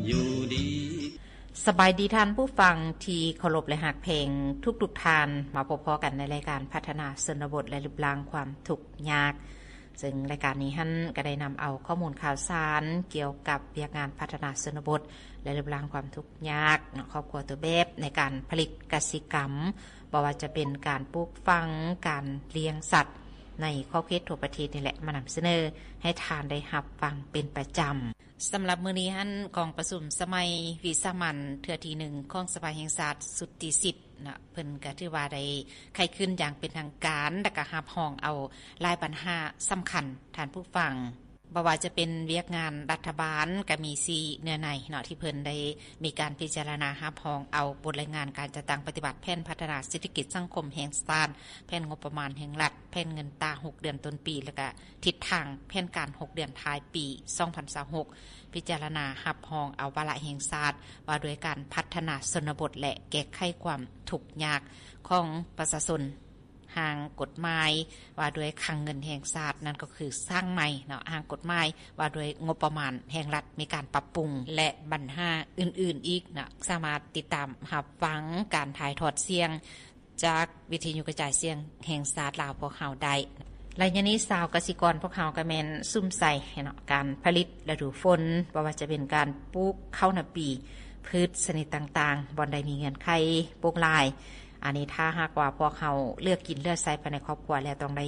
ຢູ່ດີ. ສະບາຍດີທ່ານຜູ້ຟັງທີ່ເຄົາລົບ ແລະ ຮັກແພງທຸກໆທ່ານ, ມາພົບພໍ້ກັນໃນລາຍການພັດທະນາຊົນນະບົດ ແລະ ລຶບລ້າງຄວາມທຸກຍາກ, ເຊິ່ງລາຍການນີ້ຫັ້ນກໍໄດ້ນຳເອົາຂໍ້ມູນຂ່າວສານກ່ຽວກັບວຽກງານພັດທະນາຊົນນະບົດ ແລະ ລຶບລ້າງຄວາມທຸກຍາກເນາະ, ຄອບຄົວຕົວແບບໃນການຜະລິດກະສິກຳ, ບໍ່ວ່າຈະເປັນການປູກຝັງ, ການລ້ຽງສັດໃນຂອບເຂດທົ່ວປະເທດນີ້ແຫຼະ ມານຳສະເໜີໃຫ້ທ່ານໄດ້ຮັບຟັງເປັນປະຈຳ. ສຳລັບມື້ນີ້ຫັ້ນ ກອງປະຊຸມສະໄໝວິສາມັນເທື່ອທີໜຶ່ງຂອງສະພາແຫ່ງຊາດຊຸດທີສິບເນາະ, ເພິ່ນກໍຖືວ່າໄດ້ໄຂຂຶ້ນຢ່າງເປັນທາງການ ແລະ ກໍຮັບຮອງເອົາຫຼາຍບັນຫາສຳຄັນທ່ານຜູ້ຟັງ. ບໍ່ວ່າຈະເປັນວຽກງານລັດຖະບານ ກໍມີສີ່ເນື້ອໃນເນາະ ທີ່ເພິ່ນໄດ້ມີການພິຈາລະນາຮັບຮອງເອົາບົດລາຍງານການຈັດຕັ້ງປະຕິບັດແຜນພັດທະນາເສດຖະກິດສັງຄົມແຫ່ງຊາດ, ແຜນງົບປະມານແຫ່ງລັດ, ແຜນເງິນຕາຫົກເດືອນຕົ້ນປີ ແລະ ກະທິດທາງແຜນການຫົກເດືອນທ້າຍປີສອງພັນຊາວຫົກ, ພິຈາລະນາຮັບຮອງເອົາວາລະແຫ່ງຊາດວ່າດ້ວຍການພັດທະນາຊົນນະບົດ ແລະ ແກ້ໄຂຄວາມທຸກຍາກຂອງປະຊາຊົນ, ຮ່າງກົດໝາຍວ່າດ້ວຍຄັງເງິນແຫ່ງຊາດ ນັ້ນກໍຄືສ້າງໃໝ່ເນາະ, ຮ່າງກົດໝາຍວ່າດ້ວຍງົບປະມານແຫ່ງລັດ ມີການປັບປຸງ ແລະ ບັນຫາອື່ນໆອີກເນາະ. ສາມາດຕິດຕາມຮັບຟັງການຖ່າຍທອດສຽງ ຈາກວິທະຍຸກະຈາຍສຽງແຫ່ງຊາດລາວພວກເຮົາໄດ້. ໄລຍະນີ້ຊາວກະສິກອນພວກເຮົາກໍແມ່ນສຸມໃສ່ເນາະ ການຜະລິດລະດູຝົນ, ບໍ່ວ່າຈະເປັນການປູກເຂົ້ານາປີ, ພືດຊະນິດຕ່າງໆ, ບ່ອນໃດມີເງື່ອນໄຂປູກຫຼາຍ. ອັນນີ້ຖ້າຫາກວ່າພວກເຮົາເຫຼືອກິນເຫຼືອໃຊ້ພາຍໃນຄອບຄົວແລ້ວ ຕ້ອງໄດ້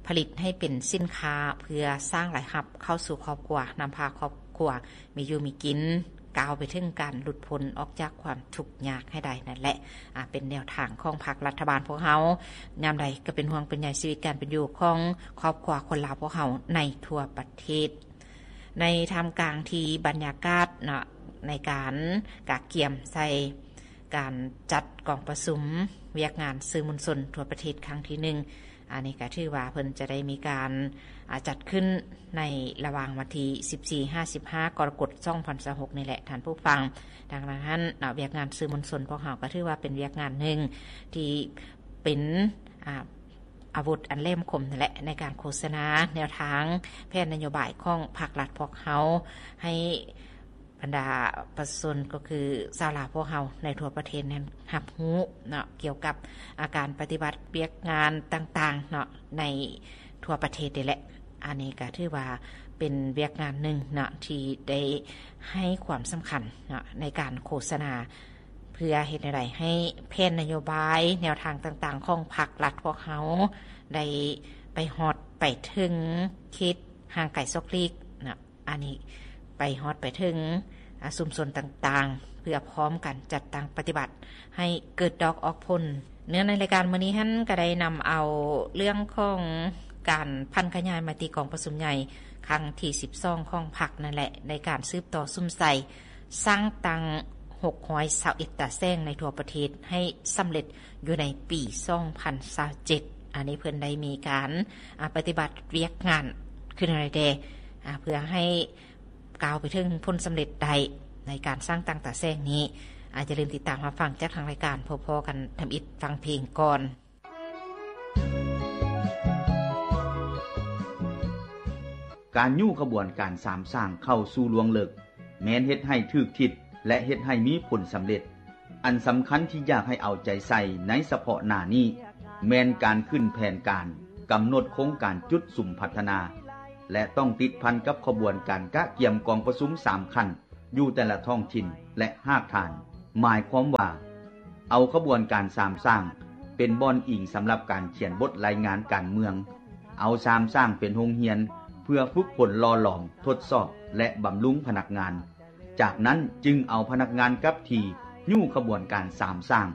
ຜະລິດໃຫ້ເປັນສິນຄ້າ ເພື່ອສ້າງລາຍຮັບເຂົ້າສູ່ຄອບຄົວ, ນຳພາຄອບຄົວ ມີຢູ່ມີກິນ, ກ້າວໄປເຖິງການຫຼຸດພົ້ນອອກຈາກຄວາມທຸກຍາກໃຫ້ໄດ້ນັ້ນແຫຼະ. ອາ ເປັນແນວທາງຂອງພັກລັດຖະບານພວກເຮົາ, ຍາມໃດກໍເປັນຫ່ວງເປັນໃຍຊີວິດການເປັນຢູ່ຂອງຄອບຄົວຄົນລາວພວກເຮົາໃນທົ່ວປະເທດ. ໃນທ່າມກາງທີ່ບັນຍາກາດເນາະ ໃນການກະກຽມໃສ່ການຈັດກອງປະຊຸມວຽກງານສື່ມວນຊົນທົ່ວປະເທດຄັ້ງທີໜຶ່ງ, ອັນນີ້ກໍຖືວ່າເພິ່ນຈະໄດ້ມີການ ອາ ຈັດຂຶ້ນໃນລະຫວ່າງວັນທີສິບສີ່ຫາສິບຫ້າກໍລະກົດສອງພັນຊາວຫົກນີ້ແຫຼະທ່ານຜູ້ຟັງ. ດັ່ງນັ້ນຫັ້ນເນາະ ວຽກງານສື່ມວນຊົນພວກເຮົາກໍຖືວ່າເປັນວຽກງານໜຶ່ງທີ່ເປັນ ອາ ອາວຸດອັນແຫຼມຄົມນັ້ນແຫຼະ ໃນການໂຄສະນາແນວທາງແຜນນະໂຍບາຍຂອງພັກລັດພວກເຮົາ ໃຫ້ ບັນດາປະຊາຊົນ ກໍຄືຊາວລາວພວກເຮົາໃນທົ່ວປະເທດນັ້ນຮັບຮູ້ເນາະ ກ່ຽວກັບ ອາ ການປະຕິບັດວຽກງານຕ່າງໆເນາະ ໃນທົ່ວປະເທດນີ້ແຫຼະ. ອັນນີ້ກໍຖືວ່າເປັນວຽກງານໜຶ່ງເນາະ ທີ່ໄດ້ໃຫ້ຄວາມສຳຄັນເນາະ ໃນການໂຄສະນາ ເພື່ອເຮັດແນວໃດໃຫ້ແຜນນະໂຍບາຍ ແນວທາງຕ່າງໆຂອງພັກລັດພວກເຮົາ ໄດ້ໄປຮອດໄປເຖິງເຂດຫ່າງໄກສອກຫຼີກເນາະ ອັນນີ້ໄປຮອດໄປເຖິງ ອາ ຊຸມຊົນຕ່າງໆ ເພື່ອພ້ອມກັນຈັດຕັ້ງປະຕິບັດໃຫ້ເກີດດອກອອກຜົນ. ເນື້ອໃນລາຍການມື້ນີ້ຫັ້ນ ກໍໄດ້ນຳເອົາເລື່ອງຂອງການຜັນຂະຫຍາຍມະຕິກອງປະຊຸມໃຫຍ່ຄັ້ງທີສິບສອງຂອງພັກນັ້ນແຫຼະ ໃນການສືບຕໍ່ສຸມໃສ່ສ້າງຕັ້ງຫົກຮ້ອຍຊາວເອັດຕາແສງໃນທົ່ວປະເທດໃຫ້ສຳເລັດຢູ່ໃນປີສອງພັນຊາວເຈັດ. ອັນນີ້ເພິ່ນໄດ້ມີການ ອາ ປະຕິບັດວຽກງານຄືແນວໃດແດ່ ອາ ເພື່ອໃຫ້ ກ້າວໄປເຖິງຜົນສຳເລັດໄດ້ໃນການສ້າງຕັ້ງຕາແສງນີ້. ອາ ຢ່າລືມຕິດຕາມຮັບຟັງຈາກທາງລາຍການ. ພົບພໍ້ກັນທຳອິດ ຟັງເພງກ່ອນ. ການຍູ້ຂະບວນການສາມສ້າງເຂົ້າສູ່ລວງເລິກ ແມ່ນເຮັດໃຫ້ຖືກທິດ ແລະ ເຮັດໃຫ້ມີຜົນສຳເລັດ. ອັນສຳຄັນທີ່ຢາກໃຫ້ເອົາໃຈໃສ່ໃນສະເພາະໜ້ານີ້ ແມ່ນການຂຶ້ນແຜນການ, ກຳນົດໂຄງການຈຸດສຸມພັດທະນາ ແລະ ຕ້ອງຕິດພັນກັບຂະບວນການກະກຽມກອງປະຊຸມສາມຂັ້ນຢູ່ແຕ່ລະທ້ອງຖິ່ນ ແລະ ຮາກຖານ. ໝາຍຄວາມວ່າ ເອົາຂະບວນການສາມສ້າງເປັນບ່ອນອີງສຳລັບການຂຽນບົດລາຍງານການເມືອງ, ເອົາສາມສ້າງເປັນໂຮງຮຽນເພື່ອຝຶກຝົນຫຼໍ່ຫຼອມ, ທົດສອບ ແລະ ບຳລຸງພະນັກງານ. ຈາກນັ້ນຈຶ່ງເອົາພະນັກງານກັບທີ່ຍູ້ຂະບວນການສາມສ້າງ,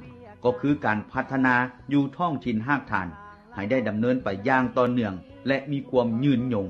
ກໍຄືການພັດທະນາຢູ່ທ້ອງຖິ່ນຮາກຖານ ໃຫ້ໄດ້ດຳເນີນໄປຢ່າງຕໍ່ເນື່ອງ ແລະ ມີຄວາມຍືນຍົງ.